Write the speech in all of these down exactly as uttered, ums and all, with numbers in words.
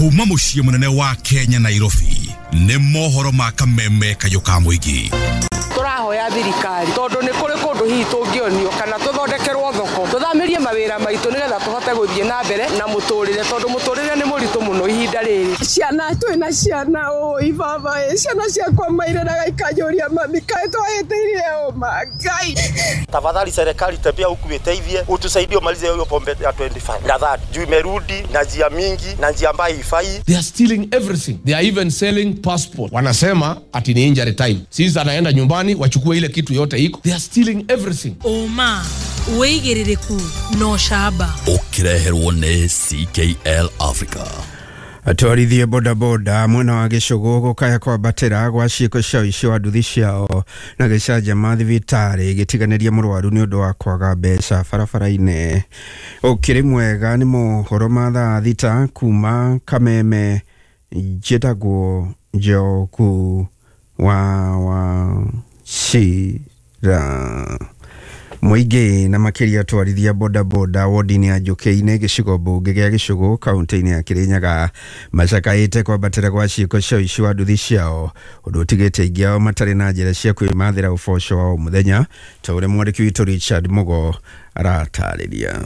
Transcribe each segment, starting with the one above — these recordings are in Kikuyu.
Kuma muciĩ munene wa Kenya Nairobi nĩ mohoro ma kameme kayũ ka mũingĩ. Tũrahoya thirikari tondu nĩ kũrĩ kũndũ hihi tũngĩonio kana tũthondekerwo thoko tũthamirie mawĩra maitũ nĩgetha tũhote gũthiĩ na mbere na mũtũrĩre tondu mũtũrĩre nĩ mũritũ mũno ihinda rĩrĩ. Ciana twĩna ciana ũi baba ĩ ciana ciakwa mairĩraga ikanjũria mami kaĩ twahĩtĩirie ũma Ngai. Tafadhali serikali tembea huku iteithie utusaidie umalize hiyo pombe ya twenty-five na thirty juu imerudi na njia mingi na njia ambayo haifai. They are stealing everything. They are even selling passport. Wanasema ati ni injury time. Sisi anaenda nyumbani wachukue ile kitu yote iko. They are stealing everything. Oma uigiririku no shaba. Ukireherwo ni C K L Africa. Atwarithie bodaboda mwena wa Gĩcũgũ gũkaya kwambatĩra gwa ciĩko cia ũici wa nduthi ciao na gĩcanjama thibitarĩ gĩtiganĩria mũrwaru nĩ ũndũ wa kwaga mbeca barabara-inĩ. Ũkĩrĩ mwega nĩ mohoro ma thaa thita kuma Kameme. Njĩtagwo Njoku wa wa Shira. Mũingĩ na makĩria atwarithia bodaboda wodi-inĩ ya Njũkĩ-inĩ gĩcigo mbunge gĩa Gĩcũgũ kaunti-inĩ ya Kĩrĩnyaga macakaĩte kwambatĩra gwa ciĩko cia ũici wa nduthi ciao ũndũ ũtigĩte aingĩ ao matarĩ na njĩra cia kwĩmathĩra ũboco wa o mũthenya ta ũrĩa mwandĩki witũ Richard Mugo aratarĩria.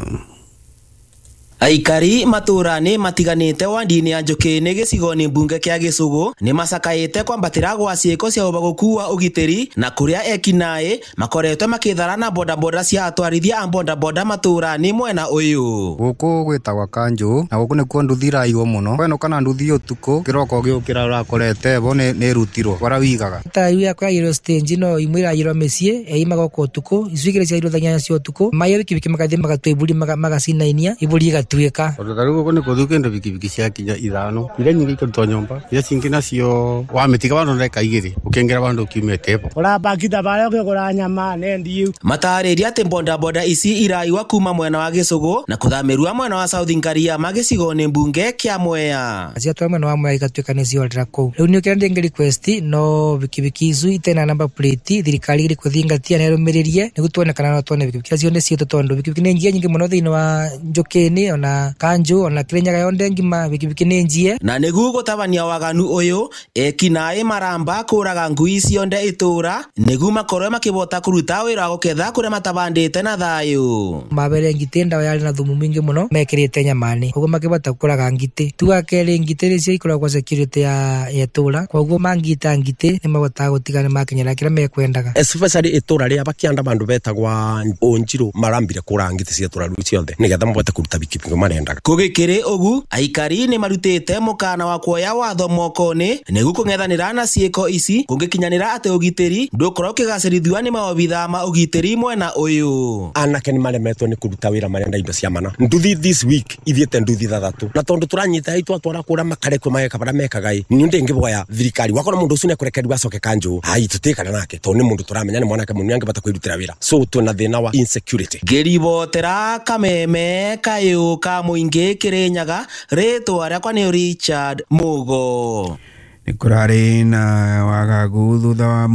Aikari matũra-inĩ matiganĩte wandi-inĩ ya Njũkĩ-inĩ gĩcigo-inĩ mbunge kĩa Gĩcũgũ nĩ macakaĩte kwambatĩra gwa ciĩko cia ũbagũku wa ũgitĩri na kũrĩa ekinaĩ makoretwo makĩthara na bodaboda cia atwarithia a bodaboda matũra-inĩ mwena ũyũ. Gũkũ gwĩtagwa Kanjũ na gũkũ nĩkuo nduthi iraiywo mũno. Wenũka na nduthi ũtukũ kĩroko ũgĩũkĩra ũrakorete bo nĩ ĩrutirwo bara wigaga. Ta iria kwayirwo stage no imwe irayirwo mĩciĩ eima gũkũ ũtukũ icu igĩrĩ ciairwo thaa inyanya cia ũtukũ maiyo bikibiki magathiĩ magatua iburi magacinainia iburi igatuĩka. Tondũ ta rĩu gũkũ nĩ kũthiũ kĩndũ bikibiki ciakinya ithano iria nyingĩ ikarutwo nyũmba iria cingĩ nacio wamĩtiga vandũ ndagĩka igĩrĩ ũkĩingĩra vandũ ũkiumĩte bo ũrabakita barĩa ũkĩgũra nyama nendi. Matarĩria atĩ bodaboda ici iraiwa kuma mwena wa Gĩcũgũ na kũthamĩrua mwena wa South Ngariama gĩcigo-inĩ mbunge kĩa Mwea. Ciatwara mwena wa Mwea igatuĩka nĩ ciorĩra kũu. Rĩu nĩ ũkĩra ndĩngĩ request no bikibiki icu itena number plate thirikari ĩrĩ kũthingatia na ĩrũmĩrĩrie nĩguo tuone kana no tuone bikibiki acio nĩ ciitũ tondũ bikibiki nĩ njie nyingĩ mũno thĩinĩ wa Njũkĩ-inĩ ona Kanjũ ona Kĩrĩnyaga yonthe ngima bikibiki nĩ njie. Na nĩguo gũtabania waganu ũyũ ekinaĩ maramba kũraga ngui cionde itũra nĩguo makorwo makĩbota kũruta wĩra wa gũketha kũrĩa matabandĩte na thayũ. Mabere ngitĩ ndawa yarĩ na thumu mwingĩ mũno mekĩrĩte nyamani koguo makĩbota kũraga ngitĩ. Tuga kerĩ ngitĩ nĩcio ikoragwo security ya itũra koguo mangita ngitĩ nĩ mabotaga gũtiga nĩ makinyĩra kĩrĩa mekwendaga. Especially itũra rĩa Bakianda bandu betagwa Onjirũ marambire kũraga ngitĩ cia itũra rĩu ciothe nĩgetha mabote kũruta bikibiki marendaga. Kũgĩkĩrĩ ũgu aikari nĩ marutĩte mũkana wa kuoya watho moko-inĩ nĩguo kũng'ethanĩra na ciĩko ici kũngĩkinyanĩra atĩ ũgitĩri ndũkorwo ũkĩgacĩrithio nĩ maobithaa ma ũgitĩri mwena ũyũ. Anake nĩ maremetwo nĩ kũruta wĩra marenda indo cia mana. Nduthi this week ithiĩte nduthi ithathatũ na tondũ tũranyita ĩ twatwara kũrĩa makarekwo mageka barĩa mekaga ĩ niĩ ndĩngĩboya thirikari wakora mũndũ ũcio nĩekũrekererio acoke Kanjũ ai tũtikana nake tondũ nĩ mũndũ tũramenya nĩ mwanake mũnini angĩbata kwĩrutĩra wĩra so twĩna thĩna wa insecurity. Ngĩribotera Kameme kayũ ka mũingĩ Kĩrĩnyaga rĩtwa rĩakwa nĩ Richard Mugo. Nĩ kũrarĩ na wagagu thutha wa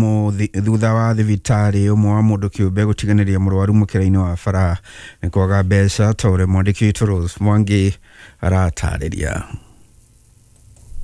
thutha wa thibitarĩ ũmwe wa mũndũ kĩũmbe gũtiganĩria mũrwaru mũkĩra-inĩ wa bara nĩ kwaga mbeca ta ũrĩa mwandĩki witũ Rose Mwangi aratarĩria.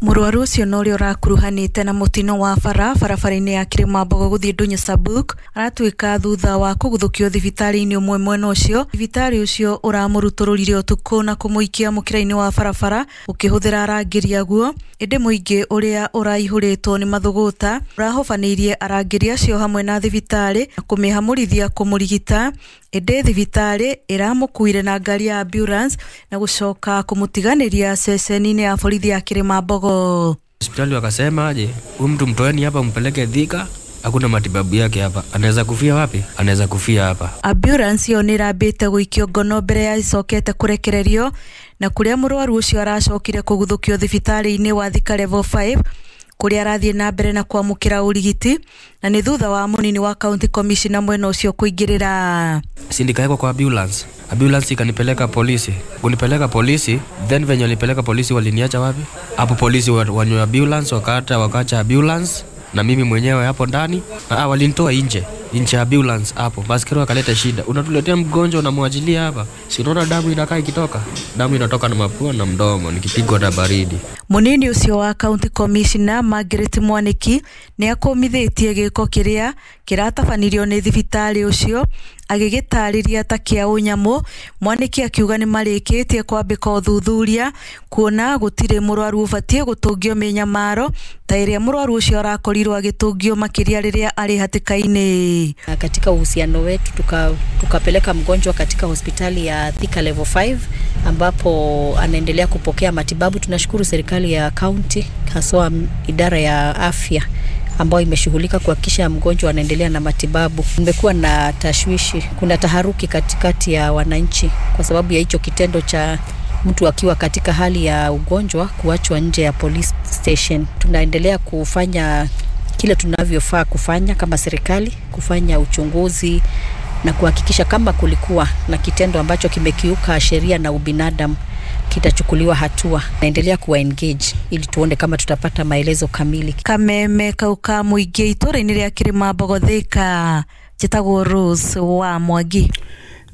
Mũrwaru ũcio na ũrĩa ũrakuruhanĩte na mũtino wa bara barabara-inĩ ya Kĩrĩmambogo gũthiĩ Ndũnyũ Sabuk aratuĩka thutha wa kũguthũkio thibitarĩ-inĩ ũmwe mwena ũcio. Thibitarĩ ũcio ũramũrutũrũrire ũtukũ na kũmũikia mũkĩra-inĩ wa barabara ũkĩhũthĩra arangĩri aguo ĩndĩ mũingĩ ũrĩa ũraihũrĩtwo nĩ mathũgũta ũrahobanĩirie arangĩri acio hamwe na thibitarĩ na kũmĩhamũrithia kũmũrigita ĩndĩ thibitarĩ ĩramũkuire na ngari ya ambulance na gũcoka kũmũtiganĩria ceceni-inĩ ya borithi ya Kĩrĩmambogo. Hospitali wakasema aje, huyu mtu mtoeni hapa mpeleke Thika, hakuna matibabu yake hapa. Anaweza kufia wapi? Anaweza kufia hapa. Ambulance yo nĩrambĩte gũikio ngono mbere ya icokete kũrekererio na kũrĩa mũrwaru ũcio aracokire kũguthũkio thibitarĩ-inĩ wa Thika level five kũrĩa arathiĩ na mbere na kwamũkĩra ũrigiti na nĩ thutha wa mũnini wa county commissioner mwena ũcio kũingĩrĩra. Si nikaekwa kwa ambulance. Ambulance ikanipeleka polisi. Kunipeleka polisi, then venye walipeleka polisi waliniacha wapi? Hapo polisi wanywa ambulance wakata wakaacha ambulance na mimi mwenyewe hapo ndani. Ah, walinitoa nje. Nje ambulance hapo. Baskero akaleta shida. Unatuletea mgonjwa unamwachilia hapa. Si unaona damu inakaa ikitoka? Damu inatoka na mapua na mdomo nikipigwa na baridi. Munini ucio wa County Commissioner Margaret Mwaniki ni akumithĩtie gĩko kĩrĩa kĩratabanirio nĩ thibitarĩ ũcio agĩgĩtarĩria ta kĩa ũnyamũ. Mwaniki akiuga nĩ marĩkĩtie kwambĩka ũthuthuria kuona gũtirĩ mũrwaru ũbatiĩ gũtũngio mĩnyamaro ta ĩrĩa mũrwaru ũcio arakorirwo agĩtũngio makĩria rĩrĩa arĩ hatĩka-inĩ. Katika uhusiano wetu tuka, tukapeleka mgonjwa katika hospitali ya Thika level five ambapo anaendelea kupokea matibabu. Tunashukuru serikali ya county haswa idara ya afya ambayo imeshughulika kuhakikisha mgonjwa anaendelea na matibabu. Kumekuwa na tashwishi, kuna taharuki katikati ya wananchi kwa sababu ya hicho kitendo cha mtu akiwa katika hali ya ugonjwa kuachwa nje ya police station. Tunaendelea kufanya kile tunavyofaa kufanya kama serikali, kufanya uchunguzi na kuhakikisha kama kulikuwa na kitendo ambacho kimekiuka sheria na ubinadamu kitachukuliwa hatua. Naendelea kuwa engage ili tuone kama tutapata maelezo kamili. Kameme kauka muingi itũra-inĩ rĩa Kĩrĩmambogo Thika, njĩtagwo Rose wa Mwangi.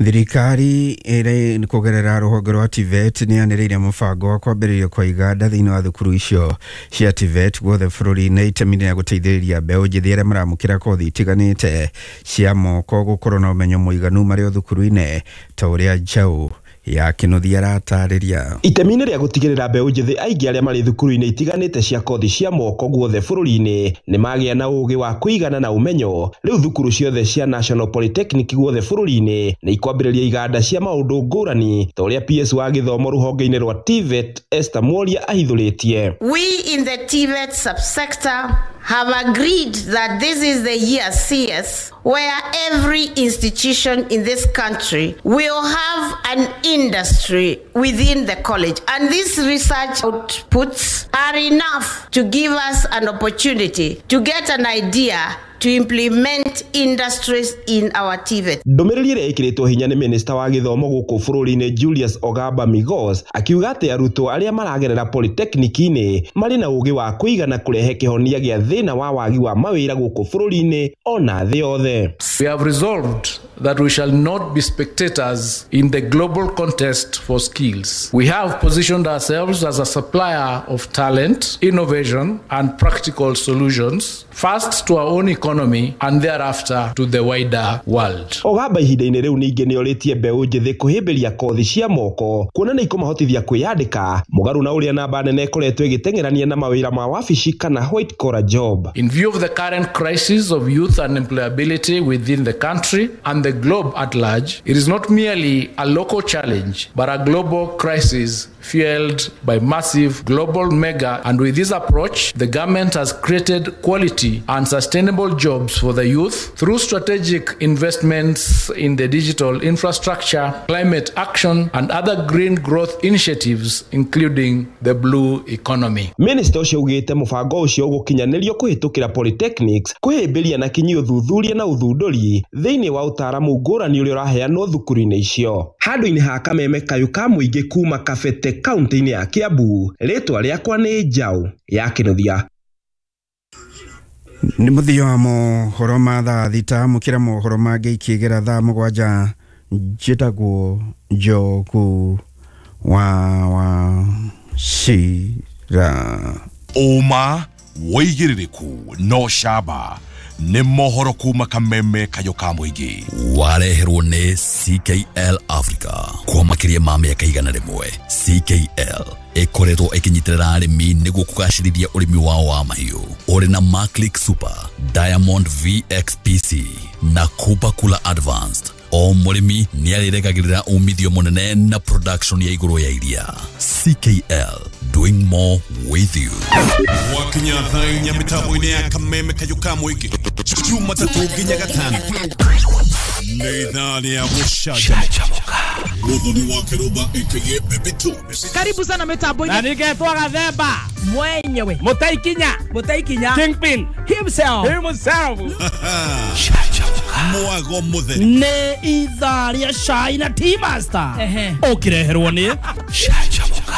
Thirikari ĩrĩ kũgerera rũhonge rwa T V E T nĩ yanĩrĩire mũbango wa kwambĩrĩrio kwa iganda thĩinĩ wa thukuru icio cia T V E T guothe bũrũri-inĩ itemi rĩa gũteithĩrĩria mbeũ njĩthĩ arĩa maramũkĩra kothi itiganĩte cia moko gũkorwo na ũmenyo mũiganu marĩ o thukuru-inĩ ta ũrĩa Njaũ ya Kĩnuthia aratarĩria. Itemi-inĩ rĩa gũtigĩrĩra mbeũ njĩthĩ aingĩ arĩa marĩ thukuru-inĩ itiganĩte cia kothi cia moko guothe bũrũri-inĩ nĩ magĩa na ũgĩ wa kũigana na ũmenyo, rĩu thukuru ciothe cia National Polytechnic guothe bũrũri-inĩ nĩ ikwambĩrĩria iganda cia maũndũ ngũrani ta ũrĩa P S wa gĩthomo rũhonge-inĩ rwa T V E T Esther Mworia ahithũrĩtie. We in the T V E T subsector have agreed that this is the year C S where every institution in this country will have an industry within the college, and these research outputs are enough to give us an opportunity to get an idea to implement industries in our T V E T. Ndũmĩrĩri ĩrĩa ĩkĩrĩtwo hinya nĩ minista wa gĩthomo gũkũ bũrũri-inĩ Julius Ogamba Migos akiuga atĩ arutwo arĩa maragerera polytechnic-inĩ marĩ na ũgĩ wa kũigana kũrehe kĩhonia gĩa thĩna wa wagi wa mawĩra gũkũ bũrũri-inĩ ona thĩ yothe. We have resolved that we shall not be spectators in the global contest for skills. We have positioned ourselves as a supplier of talent, innovation and practical solutions, first to our own economy and thereafter to the wider world. Ogamba ihinda-inĩ rĩu ningĩ nĩorĩtie mbeũ njĩthĩ kũhĩmbĩria kothi cia moko kuona nĩ ikũmahotithia kwĩyandĩka mũgarũ na ũrĩa namba nene ĩkoretwo ĩgĩteng'erania na mawĩra ma wabici kana white collar job. In view of the current crisis of youth unemployability within the country and the globe at large, it is not merely a local challenge but a global crisis fueled by massive global mega, and with this approach the government has created quality and sustainable jobs for the youth through strategic investments in the digital infrastructure, climate action and other green growth initiatives including the blue economy. Minister ũcio ugĩte mũbango ũcio ũgũkinyanĩrio kũhĩtũkĩra polytechnics kũhĩmbĩria na kinyi ũthuthuria na ũthundũri thĩinĩ wa ũtaaramu ngũrani ũrĩa ũraheanwo thukuru-inĩ icio. Handũ-inĩ ha kameme kayũ ka mũingĩ kuma Kabete kaunti-inĩ ya Kiambu, rĩtwa rĩakwa nĩ Njaũ ya Kĩnuthia. Nĩ mũthia wa mohoro ma thaa thita, mũkĩra mohoro mangĩ ikĩgera thaa mũgwanja. Njĩtagwo Njogu wa wa Cira. Ũma wĩigĩrĩrĩku no camba nĩ mohoro kuma kameme kayũ ka mũingĩ wareherwo nĩ C K L Africa kwa makĩria ma mĩaka igana rĩmwe. C K L ĩkoretwo ĩkĩnyitĩrĩra arĩmi nĩguo kũgacĩrithia ũrĩmi wao wa mahiũ ũrĩ na Maclick Super, Diamond V X P C na Cooper Cooler Advanced. O mũrĩmi nĩ arĩregagĩrĩra umithio mũnene na production ya igũrũ ya iria. C K L, doing more with you. Wakinya thaa inya mĩtambo-inĩ ya kameme kayũ ka mũingĩ Jumatatũ nginya Gatano nĩ ithaa rĩa gũcanjamũka. Muthoni wa Kĩrũmba aka Baby Tubes. Karibu sana mitambo-inĩ. Na nĩngetwo Gathemba mwenyewe, Mũtaikinya, Mũtaikinya Kingpin himself, himself. Mwago mũtheri nĩ ithaa rĩa cai na Tea Master ũkĩreherwo nĩ Canjamũka.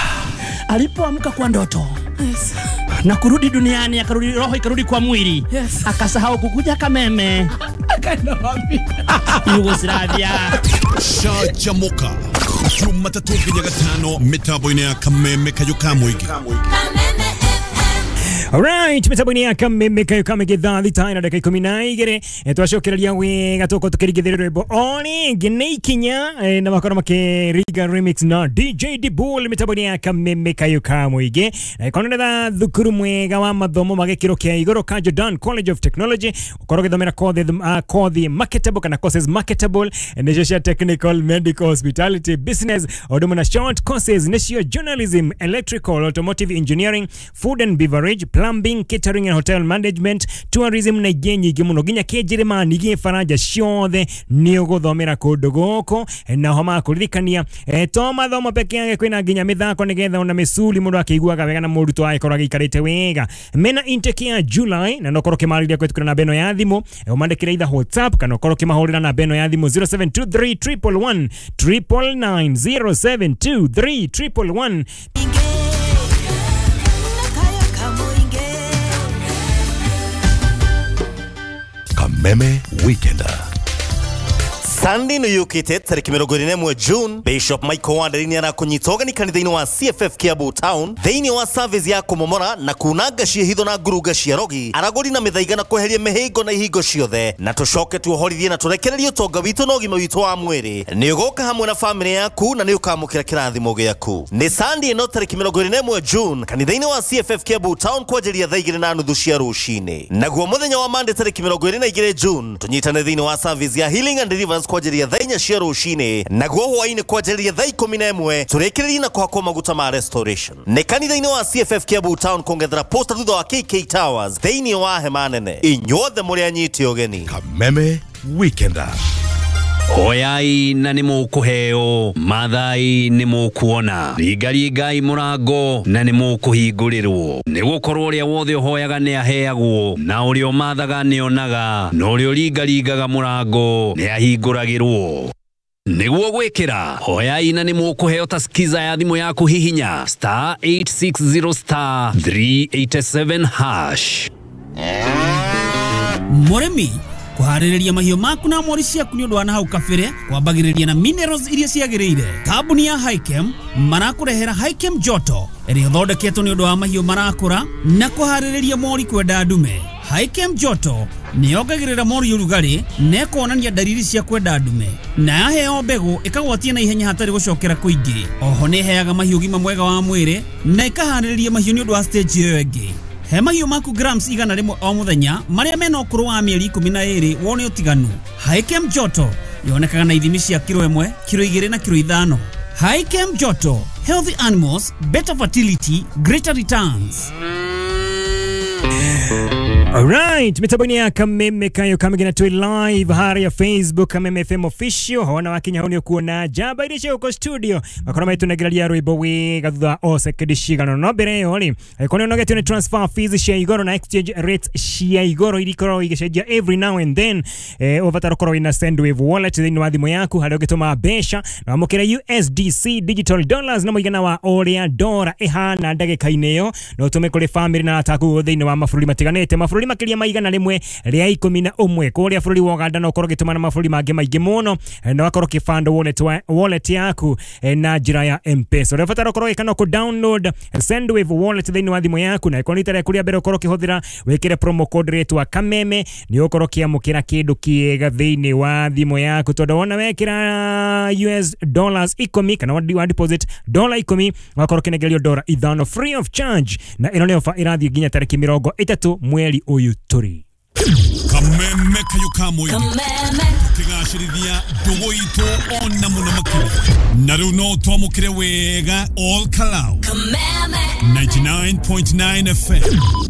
Alipoamka kwa ndoto, yes, na kurudi duniani, akarudi roho ikarudi kwa mwili, yes, akasahau kukuja kameme akaenda wapi? Yugoslavia. Canjamũka Jumatatũ nginya Gatano mĩtambo-inĩ ya kameme kayũ ka mũingĩ. Alright, mitambo-inĩ ya Kameme kayo kamĩngĩ thaa thita na ndagĩka ikũmi na igĩrĩ. Eh, twacokereria wega tũkorwo tũkĩringithĩria rwĩmbo o rĩngĩ nĩ ikinya eh, na makorwo makĩringa remix na D J Dibul mitambo-inĩ ya Kameme kayo ka mũingĩ. Na ĩkorwo nĩ tha thukuru mwega wa mathomo ma gĩkĩro kĩa igũrũ ka Jordan College of Technology, ũkorwo ũgĩthomera kothi uh, kothi marketable kana courses marketable nĩcio cia technical, medical, hospitality, business, o ũndũ ũmwe na short courses nĩcio journalism, electrical, automotive engineering, food and beverage, plumbing, catering and hotel management, tourism na ingĩ nyingĩ mũno nginya kĩnjĩrĩmani gĩbaranja ciothe nĩ ũgũthomera kũndũ gũkũ. Na ho makũririkania eh, to mathomo peke yake kwĩna nginya mĩthako nĩgetha ona mĩcuri mũndũ akĩiguaga wega na mũrutwo agĩkorwo agĩikarĩte wega. Mena intake ya July na no ũkorwo ũkĩmarĩria kũhĩtũkĩra namba ĩno ya thimũ, ũmandĩkĩre either WhatsApp kana ũkorwo ũkĩmahũrĩra namba ĩno ya thimũ zero seven two three triple one triple nine, zero seven two three triple one. Kameme Weekender. Sunday no yukite tariki mirongo ĩrĩ na ĩmwe June, Bishop Michael Wanderi nĩ arakũnyita ũgeni kanitha-inĩ wa C F F Kiambu Town thĩinĩ wa service ya kũmomora na kunanga ciĩhitho na ngurunga cia rogi, aragũri na mĩthaiga na kweheria mĩhĩngo na ihingo ciothe, na tũcoke tuohorithie na tũrekererie ũtonga witũ na ũgima witũ wa mwĩrĩ. Nĩ ũgoka hamwe na famĩlĩ yaku na nĩ ũkamũkĩra kĩrathimo gĩaku. Nĩ Sunday ĩno tariki mirongo ĩrĩ na ĩmwe June kanitha-inĩ wa C F F Kiambu Town kwanjĩrĩria thaa igĩrĩ na nuthu cia rũcinĩ. Naguo mũthenya wa Monday tariki mirongo ĩrĩ na igĩrĩ June tũnyitane thĩinĩ wa service ya Healing and Deliverance kwanjĩrĩria thaa inya cia rũcinĩ, naguo hwaĩ-inĩ kwanjĩrĩria thaa ikũmi na ĩmwe tũrĩkĩrĩrie na kũhakwo maguta ma restoration. Nĩ kanitha-inĩ wa C F F Kiambu Town kũng'ethera posta thutha wa K K Towers thĩinĩ wa hema nene. Inyuothe mũrĩ anyiti ũgeni. Kameme Weekender. Hoyai na nĩ mũkũheo, mathai nĩ mũkuona, ringaringai mũrango na nĩ mũkũhingũrĩrwo. Nĩ gũkorwo ũrĩa wothe ũhoyaga nĩ aheagwo, na ũrĩa ũmathaga nĩ onaga, na ũrĩa ũringaringaga mũrango nĩ ahingũragĩrwo. Nĩguo gwĩkĩra hoyai na nĩ mũkũheo ta skiza ya thimũ yaku hihinya star eight six zero star three eight seven hash. Mũrĩmi kuharĩrĩria mahiũ maku na mori ciaku nĩ ũndũ wa na hau kabere kwambagĩrĩria na minerals iria ciagĩrĩire. Kambuni ya Hikem marakũrehera Hikem Joto ĩrĩa ĩthondeketwo nĩ ũndũ wa mahiũ marakũra na kũharĩrĩria mori kwenda ndume. Hikem Joto nĩ yongagĩrĩra mori ũrugarĩ na ĩkonania ndariri cia kwenda ndume, na yaheo mbegũ ĩkagwatia na ihenya hatarĩ gũcokera kũingĩ. Oho nĩ ĩheaga mahiũ ũgima mwega wa mwĩrĩ na ĩkaharĩrĩria mahiũ nĩ ũndũ wa stage ĩyo ĩngĩ. He mahiũ maku grams igana rĩmwe o mũthenya marĩa mena ũkũrũ wa mĩeri ikũmi na ĩrĩ wone ũtiganu. Hikem Joto yonekaga na ithimi cia kiro ĩmwe, kiro igĩrĩ na kiro ithano. Hikem Joto, healthy animals, better fertility, greater returns. Alright, mitambo-inĩ ya Kameme kayo kamĩgĩ na twĩ live harĩa Facebook Kameme F M official. Hona wakinya hau nĩ ũkuona njamba iria cia gũkũ studio makorwo magĩtũnengereria rwĩmbo wega thutha o sekendi cigana. No mbere ĩyo rĩ, angĩkorwo nĩ ũnogetio nĩ transfer fees cia igũrũ na exchange rates cia igũrũ iria ikoragwo igĩcenjia every now and then, eh, ũbatara ũkorwo wĩna Sendwave wallet thĩinĩ wa thimũ yaku harĩa ũngĩtũma mbeca na wamũkĩre U S D C digital dollars na mũigana wa ũrĩa dora ĩhana ndagĩka-inĩ ĩyo, na ũtũme kũrĩ famĩlĩ na arata aku thĩinĩ wa mabũrũri matiganĩte, mabũrũri makĩria ma igana rĩmwe rĩa ikũmi na ũmwe. Kũrĩa bũrũri wa Uganda no ũkorwo ũgĩtũma na mabũrũri mangĩ maingĩ mũno, na ũgakorwo ũkĩfund wallet wa, wallet yaku na njĩra ya M-Pesa. Ũrĩa ũbatara ũkorwo ũgĩka no kũ download Sendwave wallet thĩinĩ wa thimũ yaku, na ĩkorwo nĩ rita rĩaku rĩa mbere ũkorwo ũkĩhũthĩra, wĩkĩre promo code rĩtwa Kameme, nĩ ũgũkorwo ũkĩamũkĩra kĩndũ kĩega thĩinĩ wa thimũ yaku, tondũ wona wekĩra U S dollars ikũmi kana wa deposit dola ikũmi ũgakorwo ũkĩnengerio dola ithano free of charge, na ĩno nĩ ofa ĩrathiĩ nginya tarĩki mĩrongo ĩtatũ mweri ũyũ tũrĩ. Kameme kayo kamwe tukigacĩrithia ndũgũ itũ ona mũno makĩria, na rĩu no twamũkĩre wega all Kalau ninety-nine point nine F M.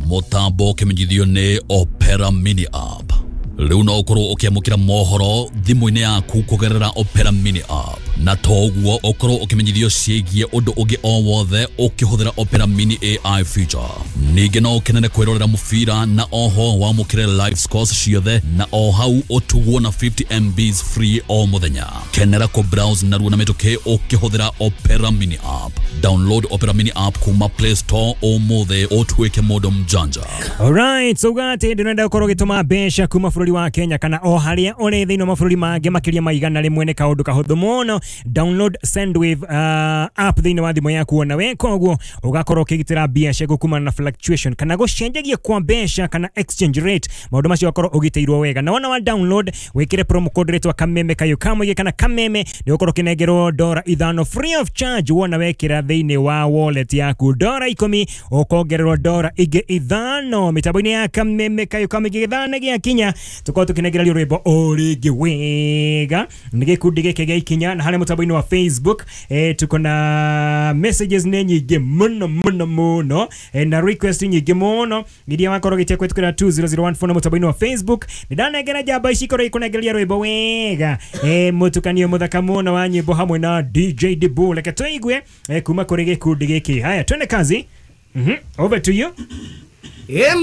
Mũtambo ũkĩmenyithio nĩ Opera Mini App. Rĩu no ũkorwo ũkĩamũkĩra mohoro thimũ-inĩ yaku kũgerera Opera Mini App, na to ũguo ũkorwo ũkĩmenyithio ciĩgiĩ ũndũ ũngĩ o wothe ũkĩhũthĩra Opera Mini A I feature. Ningĩ no ũkenere kwĩrorera mũbira na oho wamũkĩre live scores ciothe, na o hau ũtugwo na fifty M Bs free o mũthenya. Kenera kũ browse narua na mĩtũkĩ ũkĩhũthĩra Opera Mini App. Download Opera Mini App kuma Play Store ũmũthĩ ũtuĩke mũndũ mjanja. Alright, so gati ndĩrenda ũkorwo ũgĩtũma mbeca kuma bũrũri wa Kenya kana o harĩa ũrĩ thĩinĩ wa mabũrũri mangĩ makĩria ma igana rĩmwe nĩ kaũndũ kahũthũ mũno. Download Sendwave uh, app thĩinĩ wa thimũ yaku ona we koguo ũgakorwo ũkĩgitĩra mbia ciaku kumana na fluctuation kana gũcenjagia kwa mbeca kana exchange rate. Maũndũ macio ũgakorwo ũgitĩirwo wega, na wona wa download wĩkĩre promo code rĩtwa Kameme Kayo Kamũingĩ kana Kameme, nĩ ũgũkorwo ũkĩnengerwo dora ithano free of charge wona wekĩra thĩinĩ wa wallet yaku dora ikũmi ũkongererwo dora ingĩ ithano. Mĩtambo-inĩ ya Kameme Kayo Kamũingĩ gĩthana gĩakinya tũkorwo tũkĩnengererio rwĩmbo o rĩngĩ wega nĩ gĩkundi gĩkĩ gĩa Ikinya. Na harĩa mũtambo-inĩ wa Facebook eh, tuko na messages nĩ nyingĩ mũno mũno mũno eh, na request nyingĩ mũno iria wakorwo gĩtia kũhetũkĩra two zero zero one four na mũtambo-inĩ wa Facebook. Nĩ ndanengera njamba ici ikorwo ikũnengereria rwĩmbo wega eh, mũtukanio mũthaka mũno wa nyĩmbo hamwe na D J Dibu. Reke tũigue eh, kuma kũrĩ gĩkundi gĩkĩ. Haya, twende kazi. Mm-hmm. Over to you. Ema